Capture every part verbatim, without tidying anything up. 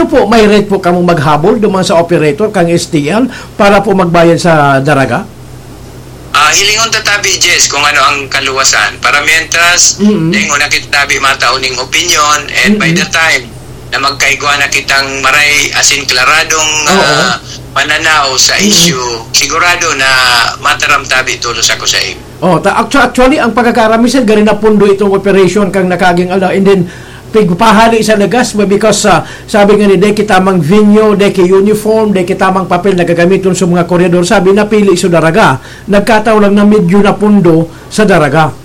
po, may right po kamong maghabol duman sa operator kang S T L para po magbayad sa daraga? Ah, hilingon ta tabi, Jess, kung ano ang kaluwasan. Para mientras, Mm-mm. dahil una kita tabi matao ning opinion, and by Mm-mm. the time na magkaigwa na kitang maray asin klaradong, Oo. ah, pananaw sa Mm-mm. issue, sigurado na mataram tabi tolos ako sa imo. Oh, ta-, actu-, actually, ang pagkakaram, sir, gari na pundo itong operation kang nakaging ala, and then, pigpahali sa lagas, because, ah, sabi nga ni, "Dai kita mang venue, dai ki uniform, dai kita mang papel na gagamiton sa mga koryador." Sabi, napili sa daraga. Nagkataon lang na medyo napundo sa daraga.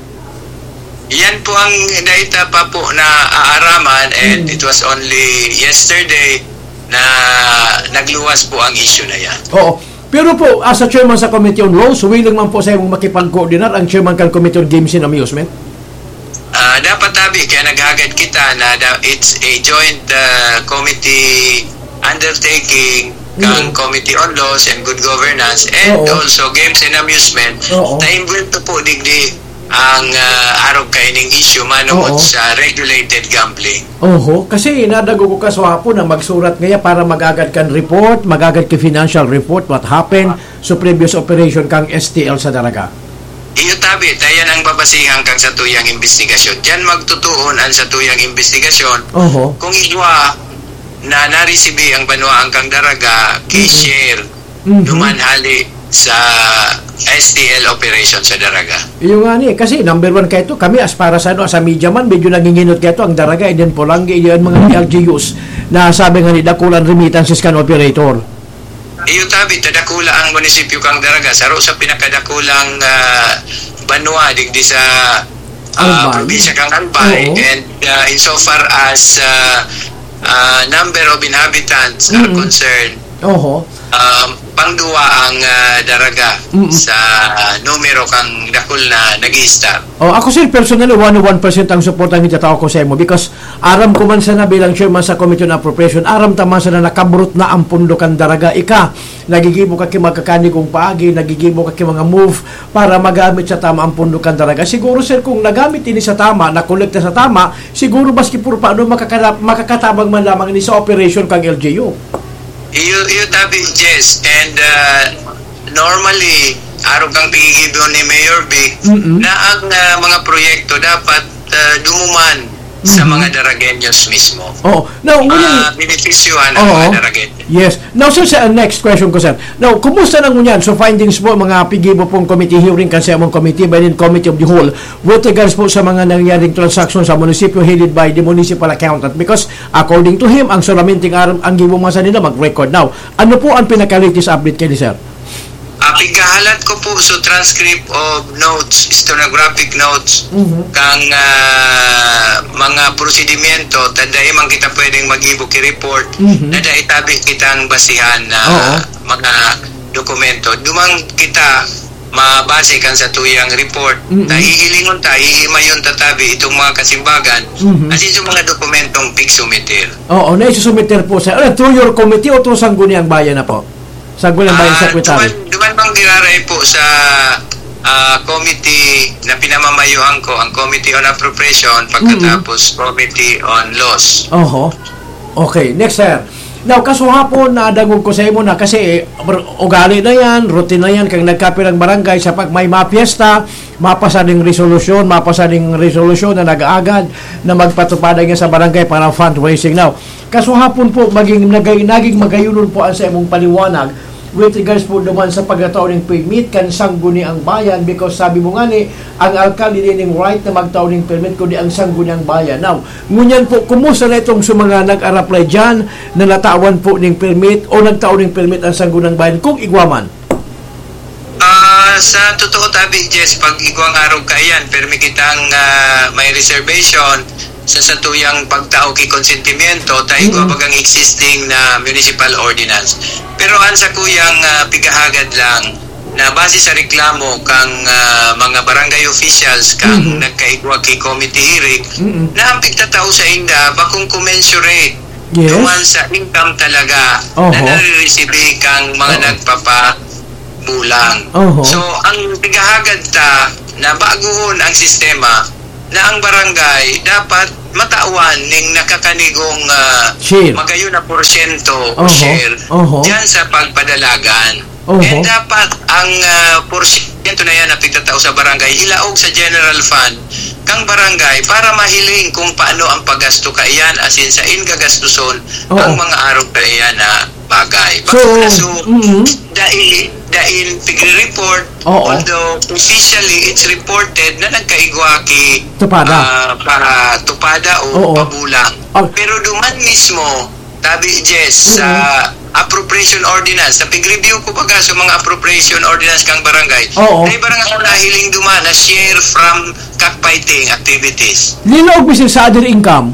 Yan po ang data pa po na aaraman, and Mm. it was only yesterday na nagluwas po ang issue na yan. Oo. Pero po, as a chairman sa Committee on Laws, willing man po sa imong makipag-coordinar ang chairman kan Committee on Games and Amusement? Ah, dapat tabi, kaya naghagad kita na da-, it's a joint, ah, committee undertaking kang Mm. Committee on Laws and Good Governance and Oo. also Games and Amusement Oo. na involved po digdi ang, ah, arog kaining issue manongod Oo. sa regulated gambling. Oho, kasi nadago ko kaswapon na magsurat ngaya para magagad kan report, magagad ki financial report, what happened sa previous operation kang S T L sa Daraga. Iyo tabi, ta yan ang babasihan kang satuyang imbestigasyon. Diyan magtutuon ang satuyang imbestigasyon. Oho. Kung igwa na naresibi ang banwaan kang Daraga, Mm. ki-share Mhm. duman hali sa S T L operation sa Daraga. Iyo nga ni, kasi number one kaito, kami as para sa, ano, sa media man, medyo nanginginot kaito ang Daraga, and then Polangui, iyo ang mga L G Us na sabi nga ni, dakulang remittances kan operator. Iyo tabi, ta dakula ang munisipyo kang Daraga, saro sa pinakadakulang, ah, banwa digdi sa, ah, Albay. probinsya kang Albay, Oo. and, ah, insofar as, ah, ah, number of inhabitants are Mm. concerned, Oho. um, pangduwa ang, ah, Daraga Mm. sa numero kang dakul na nag-i-stop. Oh, ako, sir, personally, one oh one percent ang suporta ang itatao ko sa imo because aram ko man sana bilang chairman sa Committee on Appropriation, aram ta man sana nakabrot na ang pundo kan Daraga. Ika, nagigibo ka ki magkakanigong paagi, nagigibo ka ki mga move para magamit sa tama ang pundo kan Daraga. Siguro, sir, kung nagamit ini sa tama, nakolekta sa tama, siguro maski puro paano makakala-, makakatabang man lamang ini sa operation kang L G U. Iyo, iyo tabi, Jess. And, uh, normally, arog kang pigigibon ni Mayor Vic, Mm-mm. na ang, uh, mga proyekto dapat, uh, dumuman sa Mm-hmm. mga Daragueños mismo. Oo. Now, ngunyan Ah, benepisyohan ang Oo. mga Daragueños. Yes. Now, sir, sa next question ko, sir. Now, kumusta na ngunyan? So, findings po, mga pigibo pong committee hearing kan sa imong committee, by the committee of the whole, with regards po sa mga nangyaring transaction sa munisipyo headed by the municipal accountant. Because, according to him, ang solamente ang aram, ang gibo man sa nila mag-record. Now, ano po ang pinaka-latest update kaini, sir? Ah, pighahalat ko po sa transcript of notes, stenographic notes, Mhm. kang, ah, mga prosedimento, ta dai man kita pwedeng mag-ibo ki report, Mhm. na dai tabi kitang basihan na Oo. mga dokumento. Duman kita mabase kan satuyang report. Mhm. Ta hihilingon ta, hihimayon ta tabi itong mga kasimbagan, Mhm. asin sa mga dokumentong pigsumitir. Oo, na isusumiter po sa, ah, through your committee o through Sangguniang Bayan na po? Sa Gulang Bayan Ah, Secretary. Duman, duman bang giraray po sa, ah, committee na pinamamayohan ko, ang Committee on Appropriation, Mm. pagkatapos Committee on Laws. Oho. Okay, next, sir. Now, kasuhapon, nadangog ko sa imo na kasi, eh, ugali na yan, routine na yan, kang nagkapirang barangay sa pag may mapiesta, mapasa ding resolusyon, mapasa ding resolusyon na nag-aagad na magpatupad niya sa barangay para fundraising. Now, kasuhapon po, maging nagay-, naging magayunon po ang sa imong paliwanag with regards po naman sa pagkatao ng permit kan Sangguniang Bayan, because sabi mo nga ni, ang alkalde din yung right na magtao ng permit, kundi ang Sangguniang Bayan. Now, ngunyan po, kumusta na itong sa mga nag-araplay dyan na natawan po ng permit o nagtao ng permit ang Sangguniang Bayan, kung igwa man? Ah, sa totoo tabi, Jess, pag igwang arog kaiyan, permi kitang, ah, may reservation sa satuyang pagtao ki konsentimiento, ta igwa Mhm. bagang existing na municipal ordinance. Pero ang sakuyang, ah, pigahagad lang na base sa reklamo kang, ah, mga barangay officials kang Mhm. nagkaigwa ki committee hearing, Mhm. na ang pigtatao sa inda bakong commensurate Yes. duman sa income talaga Oho. na nare-receive kang mga Oo. nagpapabulang. Oho. So, ang pigahagad ta na baguhon ang sistema na ang barangay dapat matawan ning nakakanigong, ah, Share. magayon na porsyento o Oho, share oho. diyan sa pagpadalagan. Oho. And dapat ang, ah, porsyento na yan na pigtatao sa barangay, ilaog sa general fund kang barangay para mahiling kung paano ang paggasto kaiyan, asin sain gagastuson Oo. ang mga arog kaiyan na bagay. So, Baka so, mm. dai-, dain pigre-report, Oo. although officially it's reported na nagkaigwa ki, Tupada. ah, pa Tupada o Oo. Pabulang. Oh. Pero duman mismo, tabi, Jess, sa Mm. appropriation ordinance, sa pig-review ko baga sa mga appropriation ordinance kang barangay, Oo. may barangay ako nahiling duman na share from cockfighting activities. Linaog mi sa other income.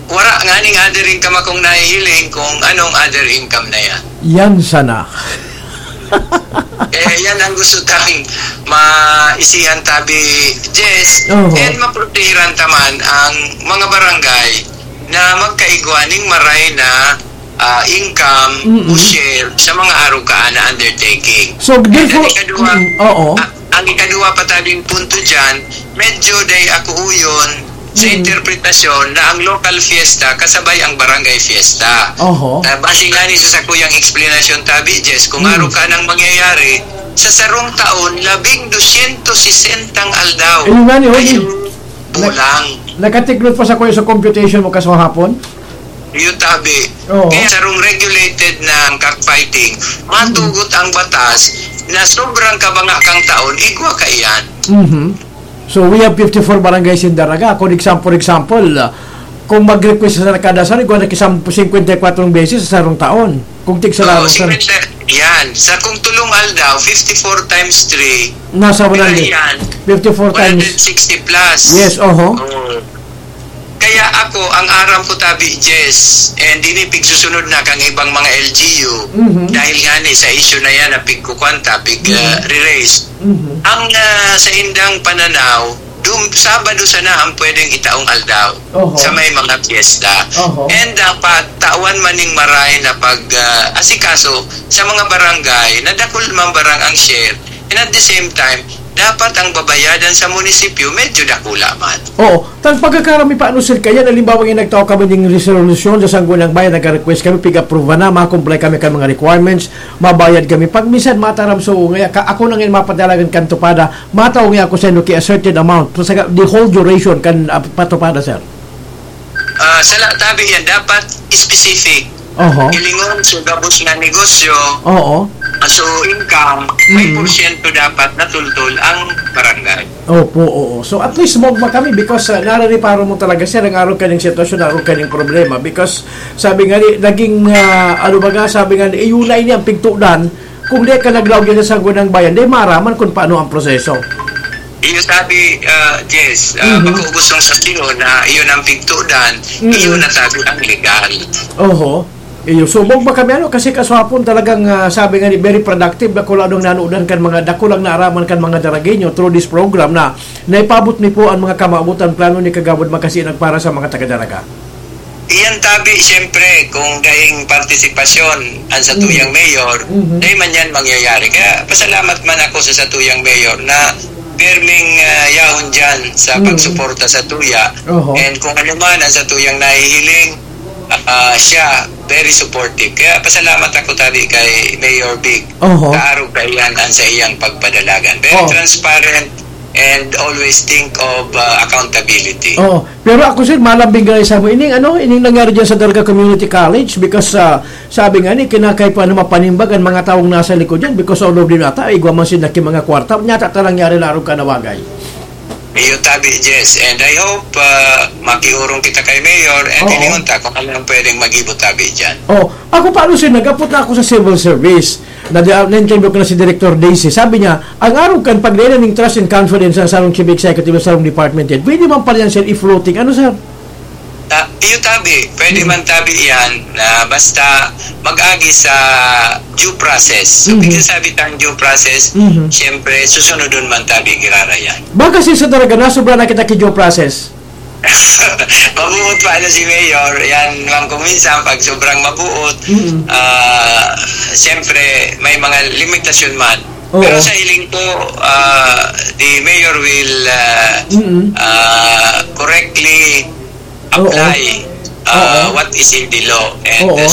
Wala nga ning other income akong nahihiling kung anong other income na yan. Yan sana. Eh, yan ang gusto tang maisihan tabi, Jess. Oho. And maprotehiran taman ang mga barangay na magkaigwa ning maray na, ah, income Mm-mm. o share sa mga arog kaan na undertaking. So, And therefore, ang ikaduha, mm, oo. a-, ang ikaduha pa tabing punto dyan, medyo day ako uyon sa Mm. interpretasyon na ang local fiesta kasabay ang barangay fiesta. Oho. Ah, base nga ni sa sakuyang explanation, tabi, Jess, kung Mm. arog kaan ang mangyayari, sa sarong taon, labing dosyentos sesentang aldaw. Ayun nga ni, Hoy. Ayun, Na-, bulang. Nakatiklot pa sa kuya sa computation mo kaswahapon? Iyo tabi. Oo. Kaya sarong regulated na ang cockfighting, matugot ang batas na sobrang kabanga kang taon, igwa kaiyan. Mhm. So, we have fifty-four barangays in Daraga. Kung exam-, for example, ah, kung mag-request sa kada sari, igwa na kisam-, singkwenta y kwatro beses sa sarong taon. Kung tig sa Oo, larong, sir. singkwenta, yan. Sa kung tulong aldaw, fifty-four times three, Nasa pira one hundred. yan? Fifty-four times. One hundred sixty plus. Yes, oho. Oo. Kaya ako, ang aram ko tabi, Jess, and ini pigsusunod na kang ibang mga L G U, Mhm. dahil nga ni sa issue na yan na pigkukwanta, pig, Mhm. ah, re-raise. Mhm. Ang, ah, sa indang pananaw, dum-, Sabado sana ang pwedeng itaong aldaw Oho. sa may mga piyesta. Oho. And dapat tawan man ning maray na pag, ah, asikaso sa mga barangay na dakul man barang ang share. And at the same time, dapat ang babayadan sa munisipyo medyo dakula man. Oo. Tan pagkakaram mi pa, ano, sir, kaya halimbawa nga nagtao kami ning resolusyon sa Sangguniang Bayan, nag-request kami, pig-approve na, ma-comply kami kan mga requirements, mabayad kami. Pag minsan mataram, so, ngaya ka, ako na ngayon mapadalagan kan tupada, matao nga ako sa inyo ki a certain amount. So, sa, the whole duration kan, ah, patupada, sir. Ah, sala tabi yan, dapat specific. Oho. Ilingon sa gabos na negosyo, Oo. ah, so income, may Mm. porsyento dapat natultol ang barangay. Opo, oo. So, at least mogma kami because, ah, narareparo mo talaga, sir, ang arog kaning sitwasyon, arog kaning problema. Because, sabi nga ni, naging, ah, ano baga, sabi nga ni, "Iyo na ini ang pigtudan." Kung di ka naglaog yan sa Sangguniang Bayan, di maaraman kung paano ang proseso. Iyo sabi, ah, Jess, ah, Mhm. bako gustong sabihin na iyon ang pigtudan, Mhm. iyon na sabi ang legal. Oho. Iyo, subog ba kami, ano? Kasi kaswapon talagang, ah, sabi nga ni, very productive, dakula nang nanudan kan mga, dakulang naaraman kan mga Daragueño through this program na naipabot mi po ang mga kamawotan, plano ni Kagawad Makasinag para sa mga taga-Daraga. Iyan tabi, siyempre, kung daing partisipasyon ang satuyang Mm. mayor, Mhm. dai man yan mangyayari. Kaya pasalamat man ako sa satuyang mayor na pirming, ah, yahon dyan sa Mm. pagsuporta sa tuya. Oho. And kung ano man ang satuyang nahihiling, ah, siya, very supportive. Kaya pasalamat ako tabi kay Mayor Vic. Oho. Kaarog kaiyan ang sa iyang pagpadalagan. Very Oh. transparent and always think of, ah, accountability. Oo. Pero ako, sir, malambing gani sa mo. Ining, ano, ining nangyari dyan sa Daraga Community College because, ah, sabi nga ni, kinakaipuhan na mapanimbag ang mga taong nasa likod dyan because all of them ata, igwa man sila ki mga kwarta. Nyata ta nangyari larog ka na bagay. Iyo tabi, Jess. And I hope, ah, makiurong kita kay Mayor and Oo. hilingon ta kung ano ang pwedeng magibo tabi dyan. Oh, ako pa, ano, sir, nag-apot na ako sa civil service. Na, na-interview ko na si Director Daisy. Sabi niya, ang arog kan pagdala ning trust and confidence sa sarong chief executive sa sarong department head, pwede man pala yan, sir, i-floating. Ano, sir? Ah, iyo tabi, pwede Mm. man tabi yan na basta mag-agi sa due process. So, Mhm. pag sabi tang due process, Mhm. siyempre, susunodon man tabi, girara yan. Baka, sir, sa Daraga, nasobra na kita ki due process. Mabuot pa ano si Mayor, yan man kung minsan, pag sobrang mabuot, Mm. ah, siyempre, may mga limitasyon man. Oo. Pero sa hiling ko, ah, the Mayor will, ah, Mm. ah, correctly Oo. apply uh, Oo. what is in the law and Oo. uh,